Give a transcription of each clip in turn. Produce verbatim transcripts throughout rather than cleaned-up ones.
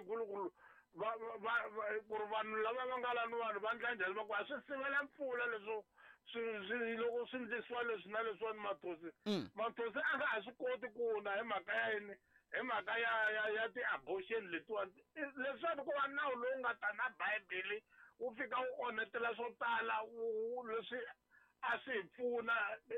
leyikulu va va ku ri vanhu lava va nga lani vanhu va ndla njhani va ku a swi sivela mpfula leswo swi swi loko swi ndlisiwa leswi na leswiwani mathosi mathosi a nga ha swi koti ku na hi mhaka ya yini hi mhaka ya ya ya ti-abortion letiwani leswiwani ku va nawu lowu nga ta na bibele wu fika wu onhetela swo tala wu leswi a swi hi pfuna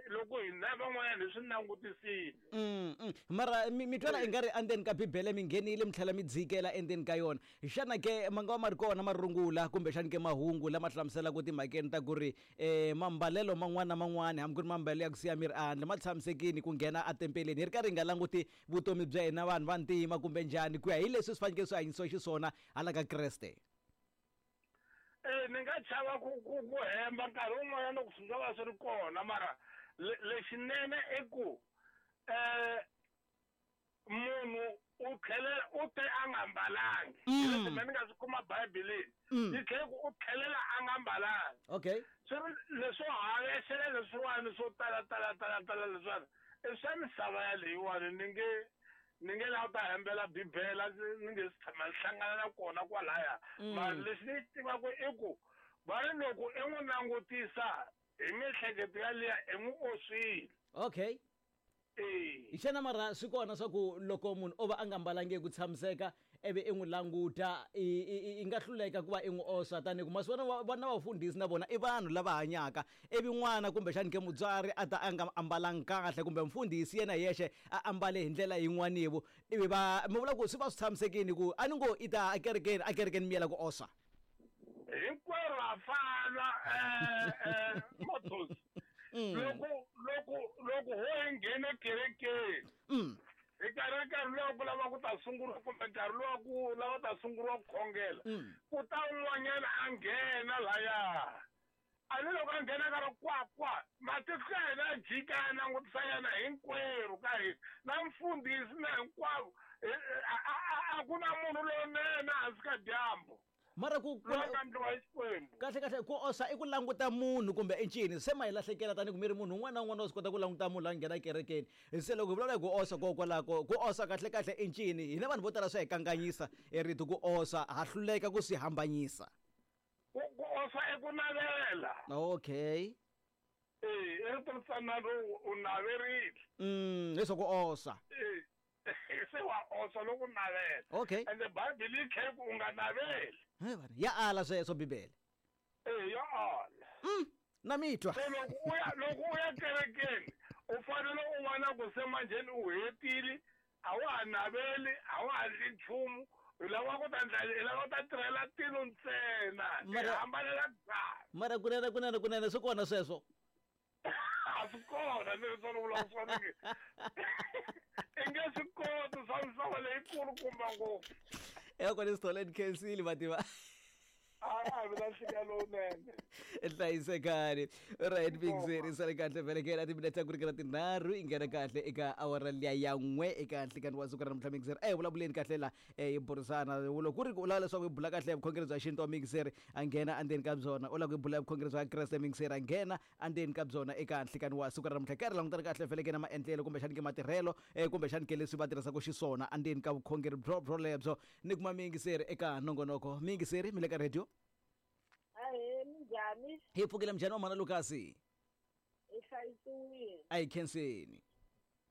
loko hina van'wanyana hi swi langutisile. Mm, mm. Mara mi mi twala i nga ri endzeni ka bibele mi nghenile mi tlhela mi dzikela endzeni ka yona. Xana ke ma nga va ma ri kona marungula kumbexani ke mahungu lama hlamuselaka timhakeni ta ku ri um mambalelo man'wana na man'wana hambi ku ri mambalelo ya ku siya miri ehandle ma tshamisekile ku nghena etempeleni hi ri karhi hi nga languti vutomi bya hina vanhu va ntima kumbe njhani ku ya hi leswi swi fanekele swi hanyisiwa xiswona hala ka Kreste. Eh ni nga chava ku ku ku hemba nkarhi wun'wanyana loko swi nga va swi ri kona mara lexinene i ku um munhu u tlhelela u te a nga mbalangi leswi mina ni nga swi kuma bibeleni yi tlhele ku u tlhelela a nga mbalangi okay swi ri leswo havexela leswiwani swo tala tala tala tala leswiwani i swa misava yaleyiwani ni nge ni nge lava ta hembela bibele ni nge si tshama ni hlangana na kona kwalaya mara lexi ni xi tivaka i ku va ri loko i n'wi langutisa hi miehleketo yaliya i n'wi oswile okay e xana mara swi kona swa ku loko munhu o va a nga mbalangi ku tshamiseka ivi i n'wi languta i i i nga hluleka ku va i n'wi oswa tanihi ku masiku vana vana vafundhisi na vona i vanhu lava hanyaka ivi n'wana kumbexani ke mutswari a ta a nga ambalangi kahle kumbe mfundhisi yena hi yexe a ambale hi ndlela yin'wanivo ivi va mi vula ku swi va swi tshamisekile ku a ni ngo i ta ekerekeni ekerekeni mi yela ku oswa hinkwerhu ha fana um mathosi loko loko loko ho hi nghene kerekeni mm hi nkarhi nkarhi lowu ku lava ku ta sunguriwa kumbe nkarhi lowa ku lava ta sunguriwa ku khongela ku ta un'wanyana a nghena laya a ni loko a nghena ka ri kwa kwa matihlo ya hina ya jika ya langutisa yena hinkwerhu ka hina na mfundhisi na hinkwavo a ku na munhu lowunene hansi ka dyambu mara ku ku loyi a nga endliwa hi Xikwembu kahle kahle ku oswa i ku languta munhu kumbe i ncini se ma hi lahlekela tanihi ku mi ri munhu un'wana na un'wana wa swi kota ku languta munhu la nghena ekerekeni se loko hi vulavula hi ku oswa kokwalako ku oswa kahle kahle i ncini hina vanhu vo tala swa hi kanganyisa e rito ku oswa ha hluleka ku swi hambanyisa ku ku oswa i ku navela okay e i rito ritsanana u naverile mm leswaku oswa e se wa oswa loko u navela okay ende bibele yi tlhela ku u nga naveli he vana ya ala sweswo bibele e ya ala mm na mi twa se loko u ya loko u ya kerekeni u fanele u vona ku se manjheni u hetile a wa ha naveli a wa ha ndli nchumu hi lava ku ta ndla hi lava ku ta tirhela tilo ntsena hi Mara- hambanela byala mara kunene kunene kunene swi kona sweswo a swi kona ni ri swona vula swona ke i nge swi koti swa misava leyikulukumba ngopfu eka kona sithole ni khensile mativa a vi na nhlika lowunene hlayisekani right big sale kahle velekela timinete ta ku ringana tinharhu i nghena kahle eka awara liya ya n'we eka nhlikani wa siku ra namuntlha mixer e vulavuleni kahle la eh, hi burisana loko ku ri ku u lava leswaku hi bula kahle hi vukhongeri bya xintu wa mixer a nghena endzeni ka byona u lava ku hi bula hi vukhongeri bya kreste mixer a nghena endzeni ka byona eka nhlikani wa siku ra namuntlha karhi langutana kahle velekela maendlelo kumbexani ke matirhelo eh, kumbexani ke leswi va tirhisaka xiswona endzeni ka vukhongeri byo byo lebyo ni kuma miyingiseri eka nongonoko miyingiseri mi le ka radio Ahee, minjhani? Hi pfukile mjhani wa mhana Lukasi Hi hlayisiwile. A hi khenseni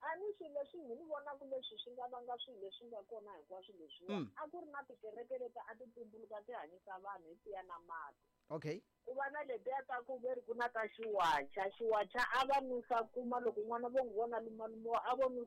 A ni swilo leswi ni vonaka leswi swi nga vanga swilo leswi nga kona hinkwaswo leswiwa Mm. a ku ri na tikereke leti a ti tumbuluka ti hanyisa vanhu hi tiya na mati okay ku va na letiya ta ku ve ri ku na ta xiwacha xiwacha a va nusa kuma loko n'wana vo n'wi vona lumalumiwa a vo nusa